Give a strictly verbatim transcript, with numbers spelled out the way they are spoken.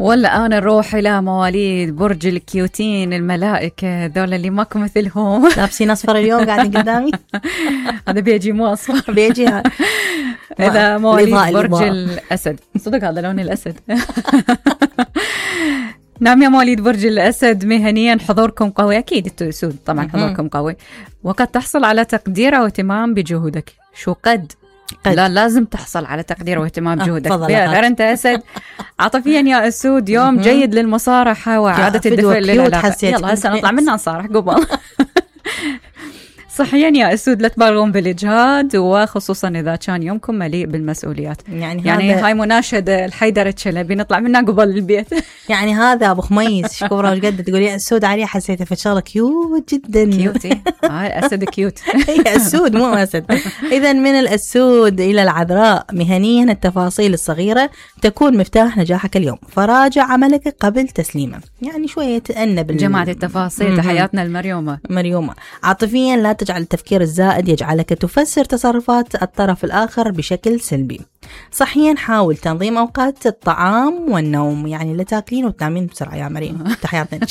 ولا أنا نروح إلى مواليد برج الكيوتين الملائكة دول اللي ماكو مثلهم. لابسين أصفر اليوم قاعدين قدامي. هذا بيجي مو أصفر بيجي. إذا مواليد برج الأسد، صدق هذا لون الأسد. نعم يا مواليد برج الأسد، مهنيا حضوركم قوي، أكيد انتوا أسود طبعا حضوركم قوي، وقد تحصل على تقدير واهتمام بجهودك. شو قد؟ قد. لا لازم تحصل على تقدير واهتمام بجهودك. غير أنت أسد. عاطفيا يا أسود يوم جيد للمصارحة وإعادة الدفء للعلاقة. يلا هسه نطلع منها نصارح قبل. صحيا يا أسود لا تبالغون بالإجهاد، وخصوصا إذا كان يومكم مليء بالمسؤوليات. يعني, يعني هاي مناشدة الحيدر الشلبي نطلع منها قبل البيت. يعني هذا أبو خميس شكورة وش قد تقول يا أسود عليه، حسيته في شغله كيوت جدا. كيوتي هاي أسد كيوت. هي أسود مو أسد. إذا من الأسود إلى العذراء، مهنيا التفاصيل الصغيرة تكون مفتاح نجاحك اليوم، فراجع عملك قبل تسليمه. يعني شوية تأنب جماعة التفاصيل. تحياتنا المريومة. مريومة. عاطفيا لا تجعل التفكير الزائد يجعلك تفسر تصرفات الطرف الآخر بشكل سلبي. صحيا حاول تنظيم أوقات الطعام والنوم، يعني لا تاكلين وتنامين بسرعة يا مريم. تحياتنا.